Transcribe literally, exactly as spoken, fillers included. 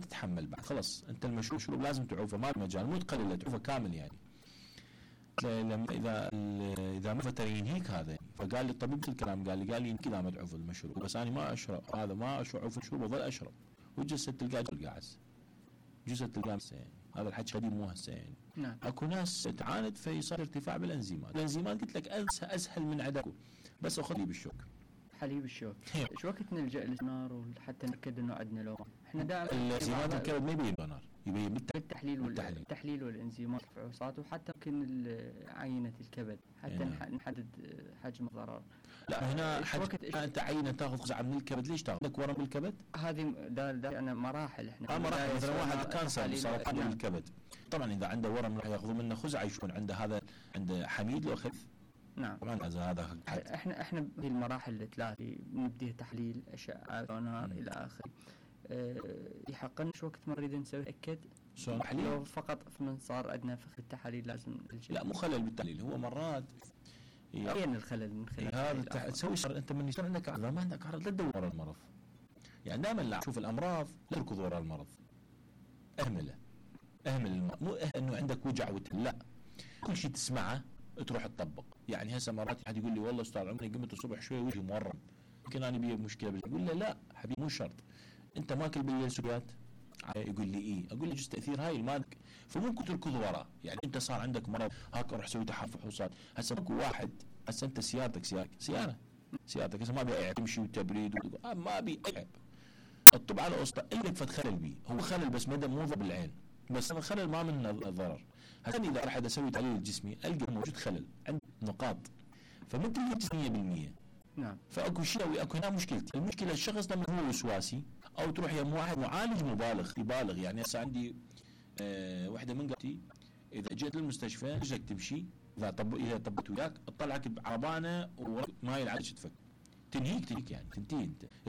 تتحمل بعد خلص انت المشروب شروب لازم تعوفه ما مجال مو تقلله تعوفه كامل يعني. لما اذا اذا ما فتر ينهيك هذا. فقال لي الطبيب مثل الكلام قال لي قال لي كذا ما تعوف المشروب بس انا ما اشرب هذا ما اشرب المشروب وظل اشرب وجسد تلقاه القاعس جسد تلقاه يعني. هذا الحكي قديم مو هسه يعني. نعم. اكو ناس تعاند فيصير ارتفاع بالانزيمات. الانزيمات قلت لك انسى اسهل من عندكم بس اخذ بالشوك حليب الشوك. شو وقت نلجأ للسونار وحتى نتاكد انه عندنا لون؟ احنا دائما الانزيمات الكبد ما يبين سونار يبين بالتحليل والتحليل والانزيمات الفحوصات وحتى يمكن عينه الكبد حتى يعني. نحدد حجم الضرر. لا هنا حج... انت عينه تاخذ قزعه من الكبد ليش تاخذ لك ورم بالكبد؟ هذه دا دا يعني مراحل احنا اه مراحل مثلا واحد كانسر سرطان نعم. الكبد طبعا اذا عنده ورم راح ياخذوا منه خزعه يشوفون عنده هذا عنده حميد لو خف. نعم طبعا هذا احنا احنا في المراحل الثلاثه نبدي تحليل اشعه سونار الى اخره. أه يحقن شو وقت ما نريد نسوي نتاكد لو فقط من صار عندنا في التحاليل لازم الجل. لا مو خلل بالتحليل هو مرات وين الخلل من خلال هذا التح... تسوي شر انت من يصير عندك اعراض ما عندك اعراض لا تدور ورا المرض يعني دائما لا تشوف الامراض لا تركض ورا المرض اهمله اهمل المرض مو انه عندك وجع وتل لا كل شيء تسمعه تروح تطبق يعني هسه مرات حد يقول لي والله استاذ عمري قمت الصبح شوي وجهي مورم يمكن انا بي مشكله اقول له لا حبيبي مو شرط انت ماكل بالليل سكريات يقول لي ايه اقول له جزء تاثير هاي المادك فممكن تركض وراه يعني انت صار عندك مرض هاك روح سوي تحاليل فحوصات هسه ماكو واحد هسه انت سيارتك سيارتك سياره سيارتك هسه ما ابي عيب تمشي وتبريد آه ما ابي عيب الطب على قصته اللي فد خلل بيه هو خلل بس مدى مو بالعين بس الخلل ما منه ضرر هسه اذا راح اسوي تحليل جسمي القى موجود خلل عند نقاط فمثل مية بالمية نعم فاكو شيء اكو هنا مشكلتي المشكله الشخص لما هو وسواسي او تروح يم واحد معالج مبالغ يبالغ يعني هسه عندي أه وحده من قبتي اذا جيت للمستشفى رجلك تمشي اذا طب اذا طبت وياك تطلعك بعربانه وما يلعبش تفك تنهيك تنهيك يعني تنتهي انت